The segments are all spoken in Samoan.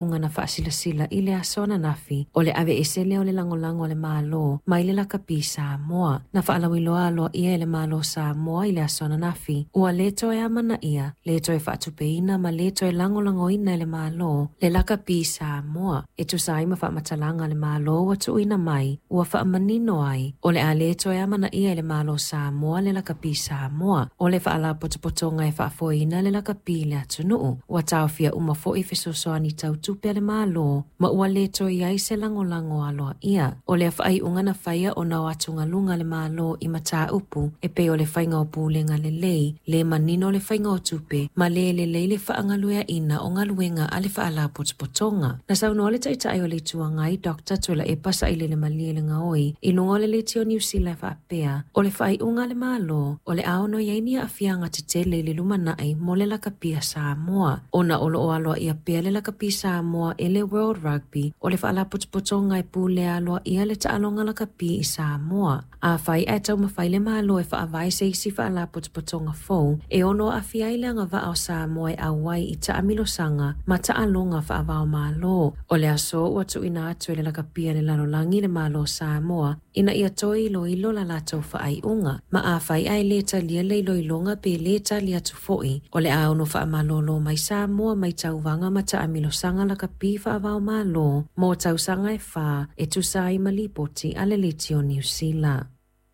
Na faasilasila i le aso ananafi o le aveese lea o le lagolago a le Malo mai le lakapi Samoa. Na faalauiloa aloaia e le Malo Samoa i le aso ananafi, ua lē toe amanaia, lē toe faatupeina ma lē toe lagolagoina e le Malo le lakapi Samoa. E tusa ai ma faamatalaga a le Malo ua tuuina mai, ua faamanino ai, o le a lē toe amanaia e le Malo Samoa le lakapi Samoa, o le faalapotopotoga e faafoeina le lakapi i le atunuu. Ua taofia uma foi fesoasoani tau tupe a le Malo ma ua lē toe i ai se lagolago aloaia. O lea faaiuga na faia ona o atugaluga a le Malo i mataupu e pei o le faiga o pulega lelei, le manino o le faiga o tupe ma le lelei le faagalueaina o galuega a le faalapotopotoga. Na saunoa le Taitai o le Itu Agai Dr. Tuilaepa Sailele Malielegaoi i luga o le Leitio Niu Sila e faapea, o le faaiuga a le Malo o le a ono i ai ni aafiaga tetele i le lumanai mo le lakapi a Samoa, ona o loo aloaia pea le lakapi Samoa e le World Rugby, o le faalapotopotoga e pulea aloaia le taaloga lakapi i Samoa. Afai ae taumafai le Malo e faavae se isi faalapotopotoga fou e ono aafia ai le agavaa o Samoa e auai i taamilosaga ma taaloga faava-o-Malo. O le aso ua tuuina atu e le lakapi a le lalolagi le Malo Samoa ina ia toe iloilo la latou faaiuga, ma afai ae lē talia le iloiloga pe lē tali atu foi, o le a ono faamalōlō mai Samoa mai tauvaga ma taamilosaga lakapi faava-o-Malo mo tausaga e 4, e tusa ai ma lipoti a le Leitio Niu Sila.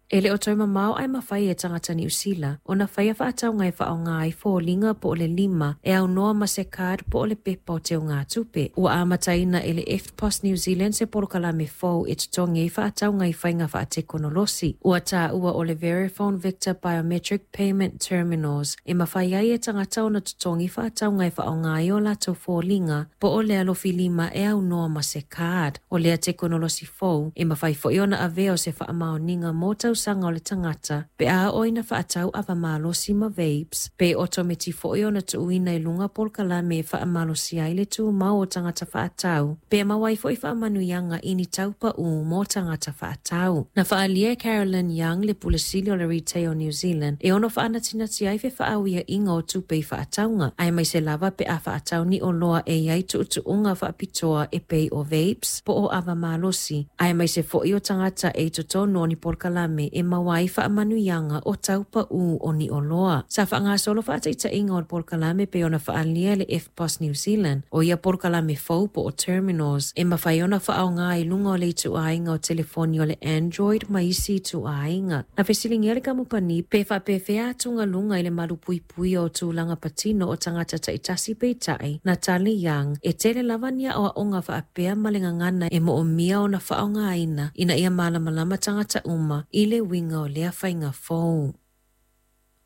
E le o toe mamao ae mafai e tagata Niu Sila ona faia faatauga e faaaoga ai foliga po o le lima e aunoa ma se card po o le pepa o teugatupe. Ua amataina e le EFTPOS New Zealand se polokalame fou e totogi ai faatauga i faiga faatekonolosi ua taua o le Verifone Victor Biometric Payment Terminals, e mafai ai e tagata ona totogi faatauga e faaaoga ai o latou foliga po o le alofilima e aunoa ma se card. O lea tekonolosi fou e mafai foi ona avea o se faamaoniga mo tausaga o le tagata pe a oo ina faatau ava malosi ma vapes, pe otometi foi ona tuuina i luga polokalame e faamalosia ai le tumau o tagata faatau, pe maua ai foi faamanuiaga i ni taupaū mo tagata faatau. Na faaalia e Carolyn Young, le Pule Sili o le Retail New Zealand, e ono faanatinati ai fefaauiaiga o tupe i faatauga, aemaise lava pe a faatau ni oloa e i ai tuutuuga faapitoa e pei o vapes po o ava malosi, aemaise foi o tagata e i totonu o ni polokalame e maua ai faamanuiaga o taupaū o ni oloa. Sa faagasolo faataitaiga o le polokalame pei ona faaalia le EFTPOS New Zealand. O ia polokalame fou po o terminals e mafai ona faaaoga i luga o le ituaiga o telefoni o le Android ma isi ituaiga. Na fesiligia le kamupani pe faapefea atugaluga i le malupuipuia o tulaga patino o tagata taitasi, peitai na tali Young e tele lava ni aoaoga faapea ma le gagana e moomia ona faaaogaina ina ia malamalama tagata uma i le uiga o lea faiga fou.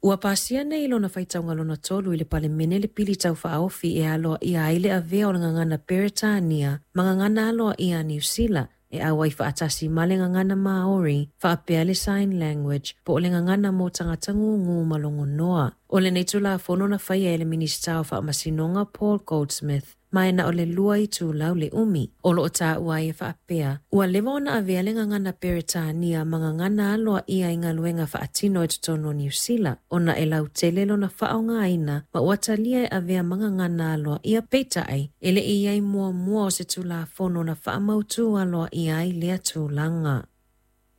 Ua pasia nei i lona faitauga lona tolu i le Palemene le pili tau faaofi e aloaia ai le avea o le gagana Peretania ma gagana aloaia a Niu Sila e auai faatasi ma le gagana Maori faapea le sign language po o le gagana mo tagata gugū ma logonoa. O lenei Tulafono na faia e le Minisita o Faamasinoga Paul Goldsmith, ma e na o le 2 itulau le umi. O loo taua ai e faapea, ua leva ona avea le gagana Peretania ma gagana aloaia i galuega faatino i totonu o Niu Sila, ona e lautele lona faaaogaina ma ua talia e avea ma gagana aloaia, peitai e le i ai muamua o se Tulafono na faamautū aloaia ai lea tulaga.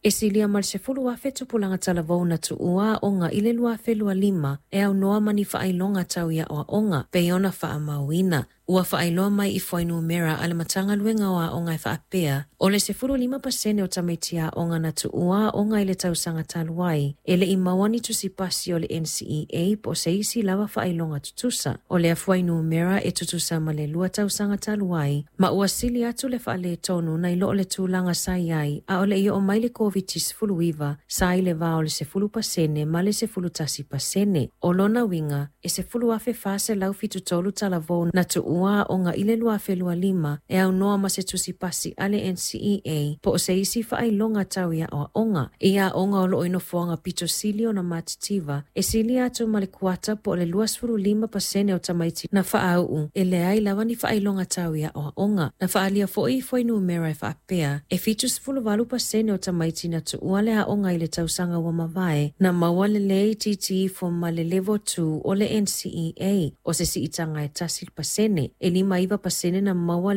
E silia ma le 10,000 tupulaga talavou na tuua aoga i le 2025 e aunoa ma ni faailoga tau i aoaoga pei ona faamauina. Ua faailoa mai i fuainumera a le Matagaluega o Aoga e faapea, o le 15% o tamaiti aoga na tuua aoga i le tausaga talu ai, e le i maua ni tusi pasi o le NCEA po o se isi lava faailoga tutusa. O lea fuainumera e tutusa ma le 2 tausaga talu ai, ma ua sili atu le faaletonu nai lo le tulaga sa i ai a o le i oo mai le COVID-19, sa i le va o le 10% ma le 11%. O lona uiga, e 10,473 talavou na tuua aoga i le 2025 e aunoa ma se tusi pasi a le NCEA po o se isi faailoga tau i aoaoga. I aoga o loo i nofoaga pito sili ona matitiva, e silia atu ma le kuata po o le 25% o tamaiti na faauu e leai lava ni faailoga tau i aoaoga. Na faaalia foi i fuainumera e faapea, e 78% o tamaiti na tuua le aoga i le tausaga ua mavae na maua le lē itiiti ifo ma le level 2 o le NCEA, o se siitaga e 1%, e 59% na maua